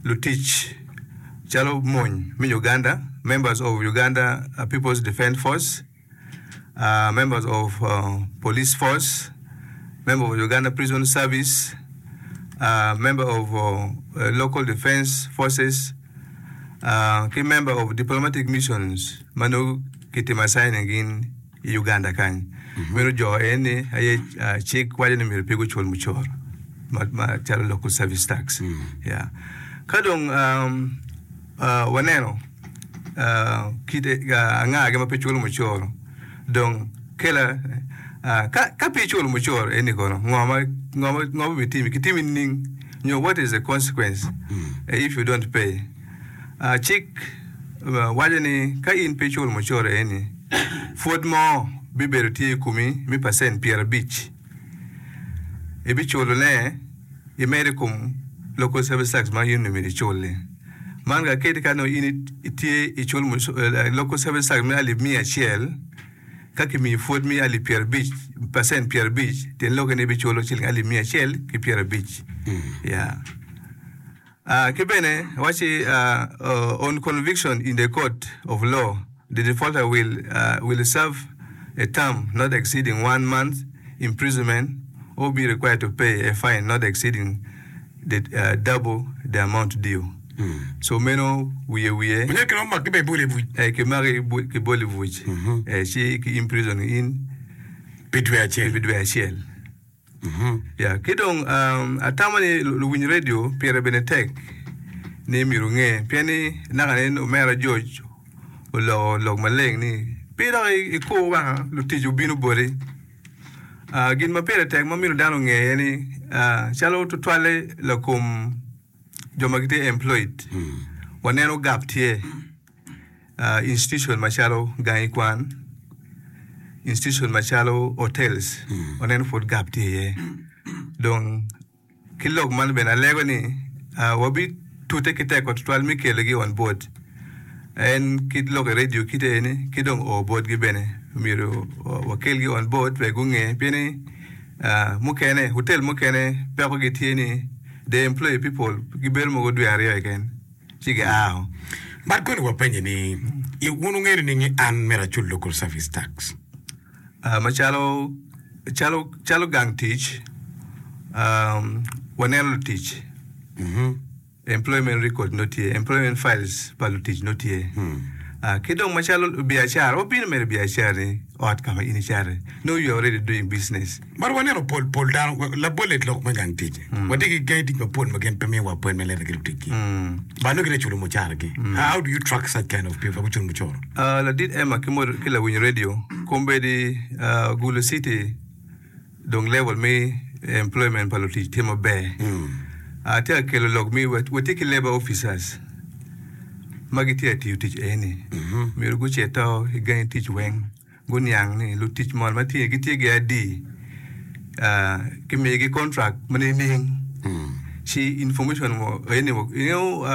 Lutic calo mony me Uganda, members of Uganda People's Defence Force, members of Police Force, member of Uganda Prison Service, member of Local Defence Forces, ki member of Diplomatic Missions ma nongo kitimo assigning gin i Uganda kany. Meno jo eni aye cik waco ni myero pe gucul mucoro macalo local service tax. Yeah. Ka dong waneno kite angagi ma pe culo mucoro dong kela ka pe iculo mucoro eni kono ngo ma ngo ma bitimi kitimi nining nyo what is the consequence if you don't pay? Cik waco ni ka in pe iculo mucoro eni, pwod mo bibedo tye i komi me pacent 50. Ibiculone imedo i kom local service tax ma in onongo myero icul-li. Man ka kadi ka nongo in itye iculo local service tax me alip 100, ka kimiyi pwod me alip 50, pacent 50, tyen lokke ni ibiculo ciling alip 150. Yeah. Ki bene wacci, On conviction in the court of law, the defaulter will will serve a term not exceeding one month imprisonment or be required to pay a fine not exceeding the double the amount due. So meno wiye wiye. Onyo kiromo maki bene iboli i buc. Eh, kimaki kiboli i buc, eh, ci ki imprison in Pi dwe acel. pi dwe acel. Ya, ki dong atamo ni luwiny redio pire bene tek ni myero wunge pien ni naka nen omera George oloko lok maleng ni pe dok ikur wanga lutic obino boti. Gin ma pire tek ma myero dano onge aye ni calo tutwalle lakom jo ma gitye employed waneno gap tye. Institution macalo gangi kwan, institution macalo hotels waneno pud gap tye iye. Dong ki lok man bene alego ni wabitute ki tekwa tutwal me kelogi on board. En kit lok i radio kite eni ki dong o botgi bene myero wakelgi on board wek gunge pien ni mukene hotel mukene pekogi tye ni they employ people gibedo mogo dwe aryo keken. ci giao. But koni wapenye ni, I wun wungeyo nining ni an myero acul local service tax? Macalo calo calo gang tic, waneno lutic, employment record nongo tye, employment files pa lutic nongo tye. Ki dong macalo biacara, wabino mere i biacara-ni ot ka ma in icato-ni, nongo you are already doing business. But waneno pol pol dano, labolle lok me gang tic. Watye ki gangi tic mapol ma gin pe miyowa appointment letter ki luticgi. But nongo gitye ka culo mucaragi. How do you track such kind of people ma guculo mucoro? Ladit Emma ki modo ki lawiny radio, kombeddi Gulu City dong level me employment pa lutic tye maber. Atye ka kelo lok mi watye ki labour officers ma gitye ka tiyo tic eni. Myero gucito i gangi tic weng. Guniang ni lutic moni ma tye gitye ki adi, kimigi contract ma nining, ci information eni ingeyo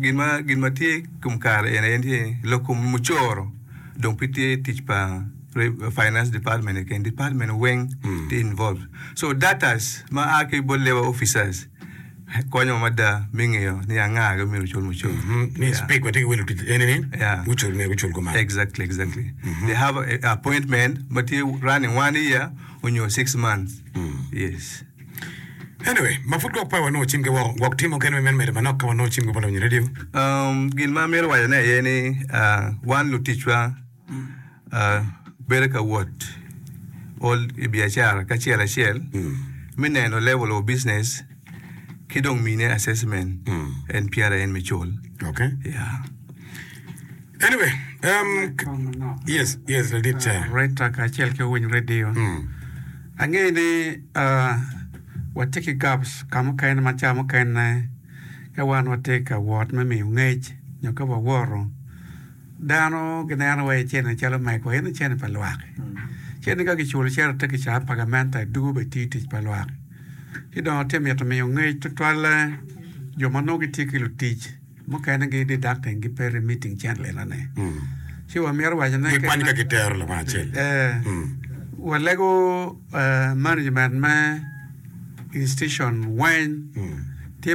gin ma gin ma tye i kom kare eni aye tye ni lok kom mucoro dong pe tye tic pa finance department keken department weng tye involved so datas ma a ki bot labour officers Konyowa mada me ngeyo ni anga ma myero ocul mucoro. Ni speak watye ki welo tic eni ni gucul myero gucul kuman. Exactly, exactly. They have a appointment ma tye running one year onyo six months. Yes. Anyway, ma pud gwok pe wanongo cimgi woko, gwok tye mukene ma imito medo manok ka wanongo cimgi bot lawiny radio. Um, gin ma amito wacone aye ni uh, wan luticwa uh, bedo ka wot ol i biacara kacel acel me neno level of business ki dong mine assessment en pyera en me cul. Okay. Yeah. Anyway, um, yes, yes, ladit chair. Rita kacel ki owiny radio. Angeyo ni uh, watye ki gaps ka mukene ma ca mukene ka wan watye ka wot me miyo ngec nyo ka wawoto Dano gineno wai cente calo megwa, ento cente pa lwak. Cente ka kiculo cito te kicaa pa gamente dugo bene tiyo tic pa lwak. Ci dong atye mito miyo ngec tutwalle jo ma nongo gitye ki lutic mukene gi deducting gi pe remitting cente enoni. Ci wamito waco ne Gikwanyo ka gitero lawang acel. Eh, walego management me institution weng.